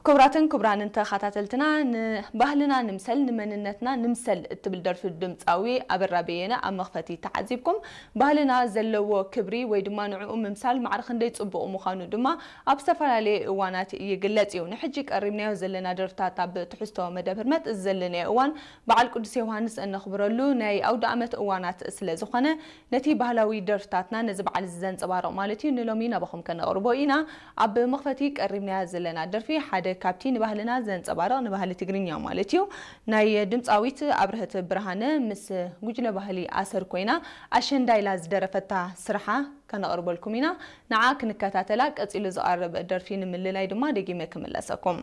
ክቡራትን ክቡራንን ተኸታተልትና፣ ንባህልና ንምሰል ንመንነትና ንምሰል እትብል ደርፊ ድምፃዊ ኣበራ በየነ ኣብ መኽፈቲ ተዓዚብኩም። ባህልና ዘለዎ ክብሪ ወይ ድማ ንዕኡ ምምሳል ማዕረ ክንደይ ፅቡቕ ምዃኑ ድማ ኣብ ዝተፈላለየ እዋናት ይግለጽ እዩ። ንሕጂ ቀሪብናዮ ዘለና ደርፍታት ኣብ ትሕዝቶ መደብ ህርመት እዚ ዘለናዮ እዋን በዓል ቅዱስ ዮሃንስ እነኽብረሉ ናይ ኣውደ ዓመት እዋናት ስለ ዝኾነ ነቲ ባህላዊ ደርፍታትና ነዚ በዓል እዚ ዘንጸባርቕ ማለት እዩ ንሎሚ ናባኹም ከነቕርቦ ኢና። ኣብ መኽፈቲ ቀሪብናያ ዘለና ደርፊ ሓደ ካብቲ ንባህልና ዘንጸባርቕ ንባህሊ ትግርኛ ማለት እዩ ናይ ድምጻዊት ኣብርህት ብርሃነ ምስ ጉጅለ ባህሊ ኣሰር ኮይና ኣሸንዳ ኢላ ዝደረፈታ ስርሓ ከነቕርበልኩም ኢና። ንዓ ክንከታተላ ቀጺሉ ዝቐርብ ደርፊ ንምልላይ ድማ ደጊመ ክምለሰኩም።